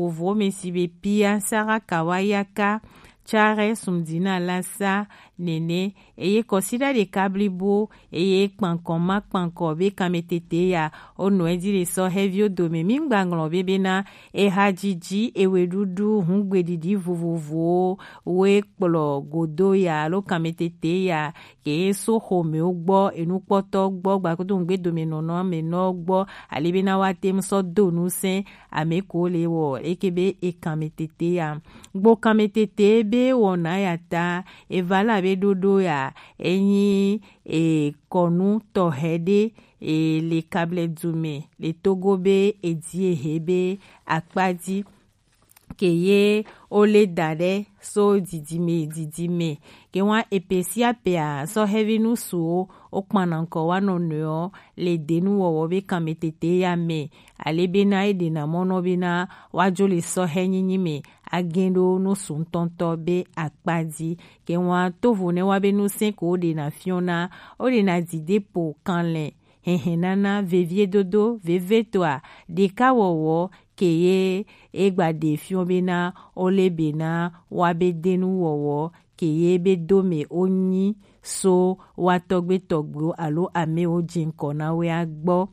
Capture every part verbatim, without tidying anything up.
vovovowo mɛ si be Pia, Sara Kawayaka, Tsare Sumdina Lasa nɛnɛ, eye kɔsiɖa ɖeka blibo, eye kpankɔ ma kpankɔ be kanmɛtete ya, wonɔ edzi le sɔhɛviwo dome. Mi gba ŋlɔ be bena ehajiji, eweɖuɖu, hungbeɖiɖi vovovowo woe kplɔ godo ya alo kanmɛtete ya ke so xomɛwo gbɔ, enukpɔtɔ gbɔ, gbakudo ŋugbedomenɔnɔ amɛnɔ gbɔ, ale bena woate ŋu sɔ do nu sɛn ame ko le wɔ eke be ekanmɛtete ya. Gbo kanmɛtete be wɔna ya ta, eva la be ɖoɖo ya, enyi e kɔnu tɔxɛ ɖe, e le Kablɛ dumɛ le Togo be edi ehe be akpa ji. Ke ye wo le da ɖe so didime yi didime. Ke wa epe sia pea, sɔhɛvi nusuwo wo kpana ŋkɔ wa nɔnɔewo le denuwɔwɔ be kanmɛtete ya mɛ. Ale bena e ɖena mɔ nɔ bena wa jo le sɔhɛ nyinyi mɛ, a gɛn ɖo nusu ŋtɔŋtɔ be akpa ji. Ke wa tovo nɛ wa be nu sɛn ko wo ɖena fiɔna, wo ɖena didepo kanlɛ hɛnhɛnana, veviedodo, vevetɔa, ɖekawɔwɔ, ke ye e gba ɖe fiɔ bena wo le bena wa be denuwɔwɔ, ke ye be do mɛ wo nyi so wa tɔgbe tɔgbewo alo amewo jinkɔ na we a gbɔ.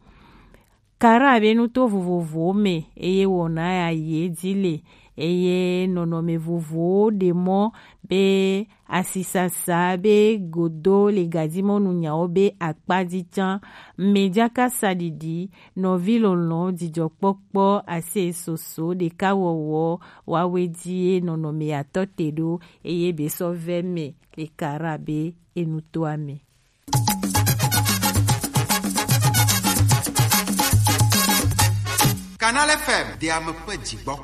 Kara be nuto vovovowo mɛ, eye wɔna ya ye ji le, eye nɔnɔme vovowo ɖe mɔ be asisasa be godo le gadimɔnu nyawo be akpa ji can. Mɛ jaka saɖiɖi, nɔvi lɔlɔn, jijɔkpɔkpɔ, ase soso, ɖekawɔwɔ, wawe ji ye nɔnɔme atɔ te ɖo, eye be sɔ vɛ mɛ le Kara be enutoa mɛ. Canal F M, de ame ƒe dzigbɔ.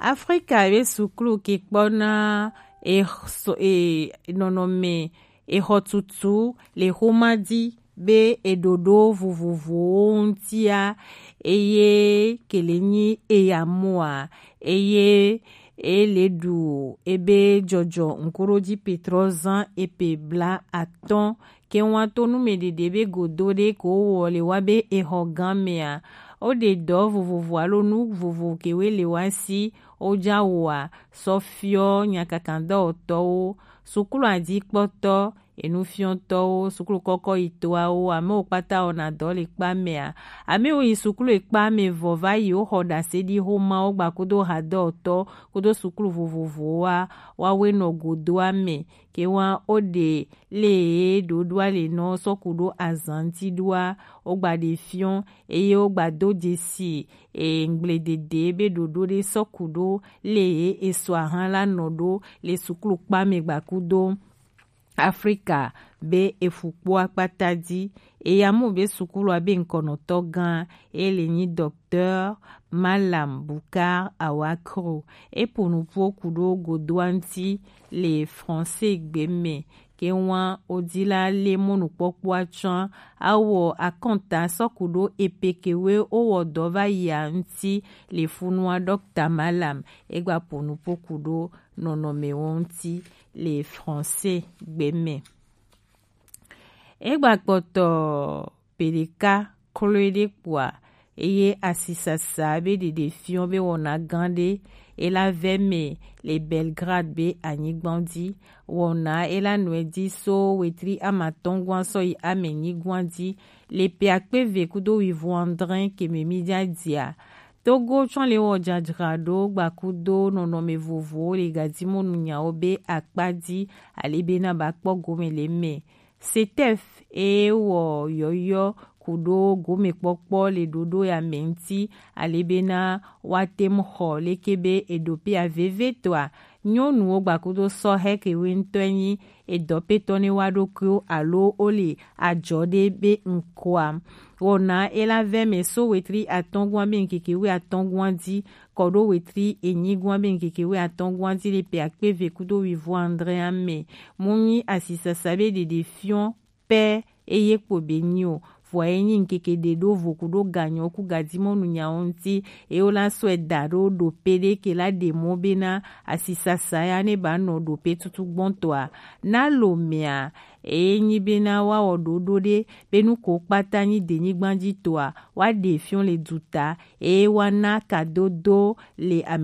Afrika be suklu ke kpɔna exɔ-, e-, nɔnɔme exɔtutu le xoma ji be eɖoɖo vovovowo ŋutia, eye ke le nyi eya moa, eye e le ɖu ebe jɔjɔ ŋkuɖoji Petrɔ zan epe bla atɔ̃. Ke wa to nu mɛ ɖeɖe be godo ɖe ko wɔ le wa be exɔ gan mɛa, wo ɖe dɔ vovovo alo nu vovo ke we le wa si wo ja wɔa, sɔ fiɔ nyakakadɔwɔtɔwo, suklu ajikpɔtɔ, enufiɔtɔwo, suklu kɔkɔ yitɔawo, amewo kpata wɔna dɔ le kpa mɛa, amewo yi suklu ekpa mɛ vɔ va yi wo xɔ ɖase ɖi xoma wo gba kudo hadɔwɔtɔ kudo suklu vovovowoa, wa we nɔ godoa mɛ. Ke wa wo ɖe le ye ɖoɖoa le nɔ sɔku ɖo azan ti ɖoa, wo gba ɖe fiɔ, eye wo gba do jesi e ŋgble dede be ɖoɖo ɖe sɔku ɖo le ye esɔ ahan la nɔ ɖo le suklu kpa mɛ gba kudo Afrika be efukpo akpata ji. Eya mu be sukulua be ŋkɔnɔtɔ gan e le nyi Docteur Malam Bukar Awakro. E po nupo kudo godoa ŋti le français gbe mɛ. Ke wa odi la le mɔnukpɔkpɔa tsɔa, awɔ akɔnta sɔku ɖo epe ke we wo wɔ dɔ va yia ŋti le funua Docteur Malam. E gba po nupo kudo nɔnɔme wo ŋti le français gbe mɛ. E gba kpɔtɔ pe ɖeka kloe ɖe kpoa, eye asisasa be ɖeɖe fiɔ be wɔna gan ɖe e la vɛ mɛ le Belgrade be anyigban ji. Wɔna e la nɔe ji so wetri amatɔngwan sɔ yi amenyigwan ji le pe akpe ve kudo wivo andre ke mɛ mi ja jia. Togo tsɔ le wɔ jajraɖo gba kudo nɔnɔme vovowo le gadimɔnu nyawo be akpa ji, ale be na ba kpɔ gome le mɛ. Setef e wɔ yɔyɔ kudo gomekpɔkpɔ le ɖoɖo ya mɛ ŋti, ale be na wa te mu xɔ leke be eɖo pe aveve tɔa, nyɔnuwo gba kudo sɔhɛ ke we ŋtɔe nyi edɔpetɔ ne wa ɖokuiwo alo wo le ajɔ ɖe be ŋkɔa. Wɔna e la vɛ mɛ so wetri atɔngwan be ŋkeke we atɔngwan ji kɔ ɖo wetri enyigwan be ŋkeke we atɔngwan ji le pe akpe ve kudo wivo andre mɛ. Mu nyi asisasa be ɖeɖe fiɔ pɛ eye kpo be nyi o. Vɔ e nyi ŋkeke ɖe ɖo vo kudo ganyɔ ku gadimɔnu nyawo ŋti, eye wo la sɔe da ɖo ɖope ɖe ke la ɖe mɔ be na asisasa ya ne ba nɔ ɖope tutu gbɔntɔa. Na lo mɛa, e nyi be na wa wɔ ɖoɖo ɖe be nu ko kpata nyi denyigban ji tɔa, wa ɖe fiɔ le duta, eye wa na kadodo le ame